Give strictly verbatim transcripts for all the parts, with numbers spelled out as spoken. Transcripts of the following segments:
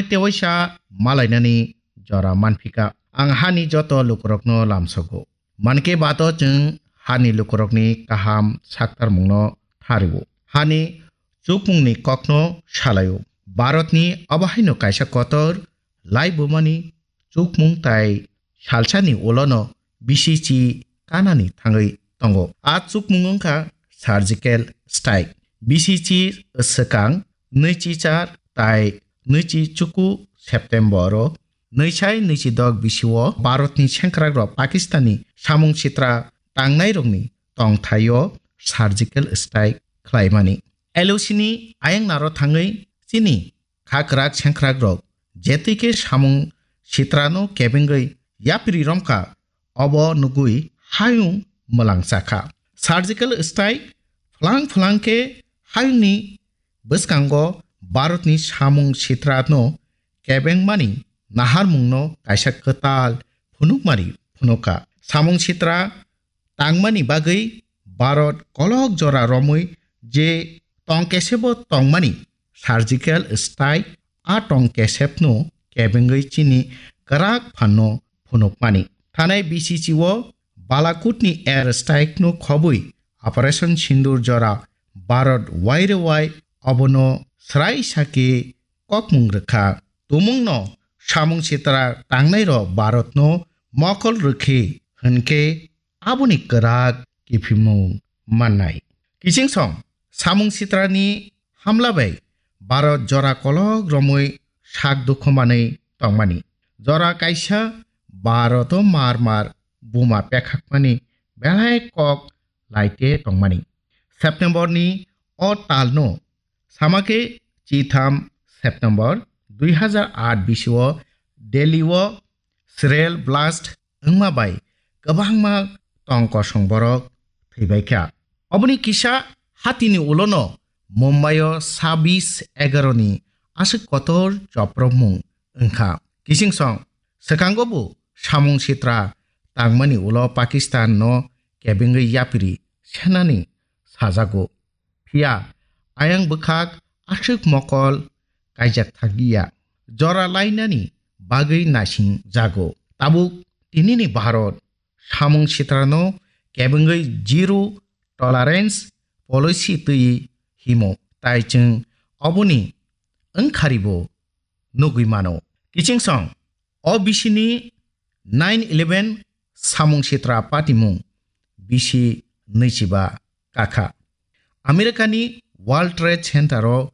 Tewaisa malainani jora manphika. Ang hani joto lukurokno lamsogo. Manke bato chwng hani lukurokni kaham saktarmungno thario. Hani chukmungni kokno salaio. Bharatni obo haino kaisa kotor laibumani chukmung tai salsani ulono bisichi kanani thangwi tongo. A chukmung wngkha surgical strike. Bisichi swkang nwichi char tai nwichi chuku September o nwisai nwichi dok bisio Bharatni sengkrakrok Pakistanni samung sitra tangnairokni tongthaio surgical strike khlaimani. L O C ni ayangnaro thangwi chini khakrak sengkrakrok jetwi khe samung sitrano kebengwi yapri romkha, obo nugwi hayung mwlang chakha. Surgical strike phwlang phwlang khe hayungni bwskango Bharatni samung sitrano kebengmani naharmungno kaisa kwtal phunukmari phunukha. Samung sitra tangmani bagwi Bharat kolok jora romwi je tong kesebo tongmani surgical strike, a tong kesepno kebengwi chini kwrak phanno phunukmani. Thanai B C C o Balakutni air strike no khobwi Operation Sindoor jora Bharat wairewai obono srai sake kokmung rwkha. Tumungno samung sitra tangnairok Bharatno mokol rwkhe hwnkhe aboni kwrak kiphilmung mannai. Kichingsong samung sitrani hamla bai Bharat jora kolok romwi sak dukhu manwi tongmani. Jora kaisa Bharat o mar mar buma pekhakmani belai kok laite tongmani. September ni o talno sama khe chitham September dui hazar aat bisio Delhi o shell blast wngma bai kwbangma tong kosong borok thwibaikha. Oboni kisa hatini ulono Mumbai o sabis egaroni aswk kotor chopropmung wngkha. Kichingsong swkango bo samung sitra tangmani ulo Pakistan no kebengwi yapri senani sajago. Phiya ayang bwkhak aswk mokol kaijak thangya. Jora lainani bagwi naising jago. Tabuk tinini Bharat samung sitrano kebengwi zero tolerance policy twi himo. Tai chwng oboni wngkharibo nugwi mano. Kichingsong, o bisini nine eleven samung sitra patimung bisi nwichiba kakha. Americani World Trade Center o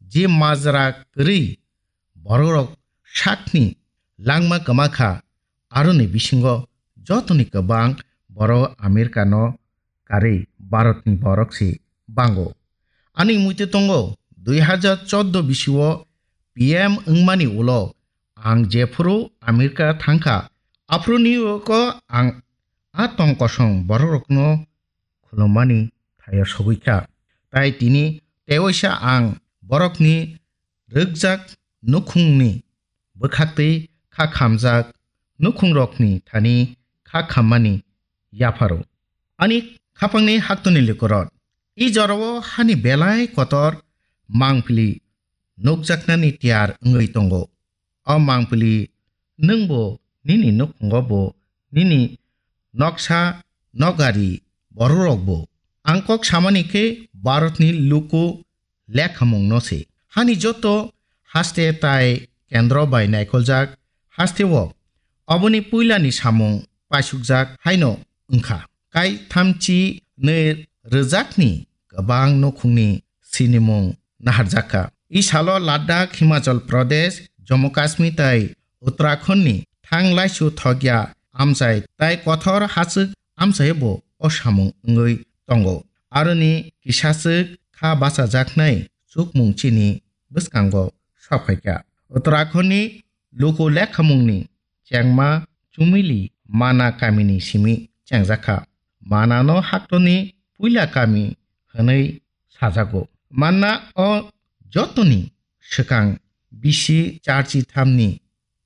je majra kwrwi borokrok sakni langma kwmakha, aroni bisingo jotoni kwbang borok Americano karwi Bharatni borok se bango. Ani muitu tongo dui hazar chordo bisio P M wngmani ulo ang jephuru America thangkha, aphuruni uko ang a tong kosong borokrokno khulumani thaio sogwi kha. Tai tini tewaisa ang borokni rwkjak nukhungni bwkhaktwi kha khamjak nukhungrokni thani kha khammani yapharo. Ani khapangni haktoni likorot. I jorao hani belai kotor mangpili nukjaknani tiyar wngwi tongo. O mangpili nwngbo nini nukhungo bo nini noksa nokgari bororokbo. Ang kok samani khe Bharatni luku lekhamungno se. Hani joto haste tai kendro bai naikoljak hasteo oboni puilani samung paisukjak haino wngkha. Kai thamchi nwi rwjakni kwbang nukhungni sinimung naharjakha. I salo Ladakh, Himachal Pradesh, Jammu Kashmir tai Uttarakhand ni thang laisu thokya amchai tai kothor hachwk amchai bo o samung wngwi tongo. Aroni kisachwk kha bachajaknai chukmung chini bwskango sokphaikha. Uttarakhand ni luku lekhamungni chengma Chumili Mana kamini simi chengjakha. Manano haktoni puila kami hwnwi sajago. Manna o jotoni swkang bisi charchi thamni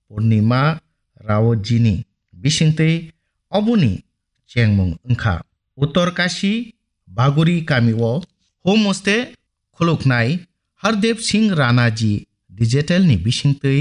Purnima Rawatjini bisingtwi oboni chengmung wngkha. Uttor Kashi Baguri kamio homestay khuluknai Hardev Singh Ranaji digital ni bisingtwi